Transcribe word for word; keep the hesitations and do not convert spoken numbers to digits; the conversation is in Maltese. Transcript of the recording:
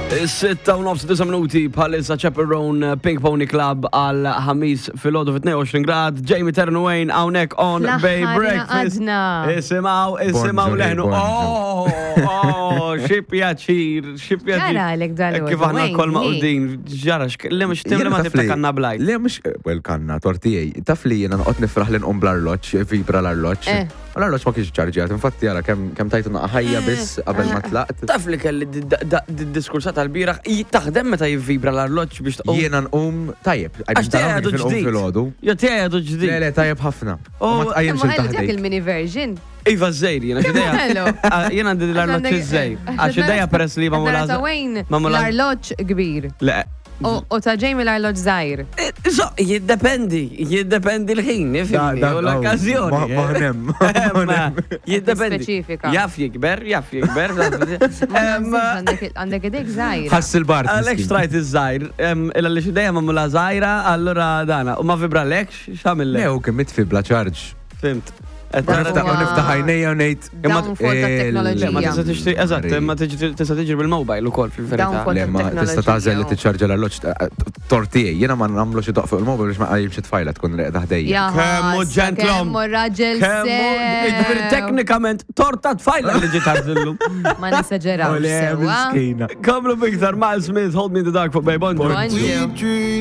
Is-sitta u nofs disa' minuti bħalissa. Chappell Roan, Pink Pony Club għal Ħamis filgħodu fit tnejn u għoxrin grad. Jamie Ternuane hawnhekk on Fl-aħħar Bay Breakfast. ingħaqadna. Isimgħu, isimgħu Bonġu, leħnu. bonġu. Oh, oh, xi pjaċir, xi pjaċir. Ġara għalek dal-għodu, Kif aħna Wayne, kol li? maqudin, ġara, li mux timli ma Jiena taf tibta li- kanna blajt. Le, mux, well, kanna, tortijaj. Taf li jena noqgħod nifraħ li nqum bl-arloġġ, vibra l-arloġġ. Eh. U l-arloġġ ma kienx ċarġjat, infatti jara kemm kemm tajtu naqa ħajja biss qabel ma tlaqt. Taf li kelli diskursat tal-bieraħ, taħdem meta jivvibra l-arloġġ biex tqum. Jiena nqum tajjeb, Għax tiegħi għadu nqum ġdid. filgħodu. Jo, tiegħi għadu ġdid. Le, le, tajjeb ħafna. U ma Oh, tqajjimx Imma ħelu dak il-taħdejk. il-mini version. Iva, żejr, jiena x'idea. Hello. Ah, jiena għandi l-arloġġ iż-żejr. Għax ideja peress li ma Nara ta' Wayne ma l-arloġġ kbir. Le. U u ta' Jamie l-arloġġ żgħir. So, jiddependi, jiddependi l-ħin, ifhimni, Da- da- u l-okkazjoni. ma- maħnem, Ma, jiddependi. Speċifika. Jaf jikber, jaf jikber. Ma Em, naħsibx għandek- Għandek idejk żgħira. Ħass il-bart. Għalek miskin. xtrajt iż-żgħir, illa li x'idejja magħmula żgħira, allura dana. U ma vibralekx, x'għamillek? Le, u kemm mitfi bla ċarġ. Fhimt. Qed U tara- niftaħ u Huwa- niftaħ għajnejja u ngħid. Downfall Il- Le, ma tat-teknoloġija. tista' tixtri, eżatt, ma tiġri- tista' tiġri bil-mobile ukoll fil-verità. Downfall. Le, ma tista' tagħżel li tiċċarġa l-arloġġ tortijaj. Jiena ma nagħmlu xi doq fuq il-mobile biex ma qajjimx it-tfajla tkun reqda ħdejja. Ja, Kemmu ħassa, ġentlom. Kemmu raġel Kemmu, jiġifieri sew. teknikament torta tfajla li ġiet għażillu. Ma nesaġerawx Ole, sewwa. miskina. Komplu biktar Miles Smith, "Hold Me in the Dark" fuq Bay. Bonġu. Bonġu.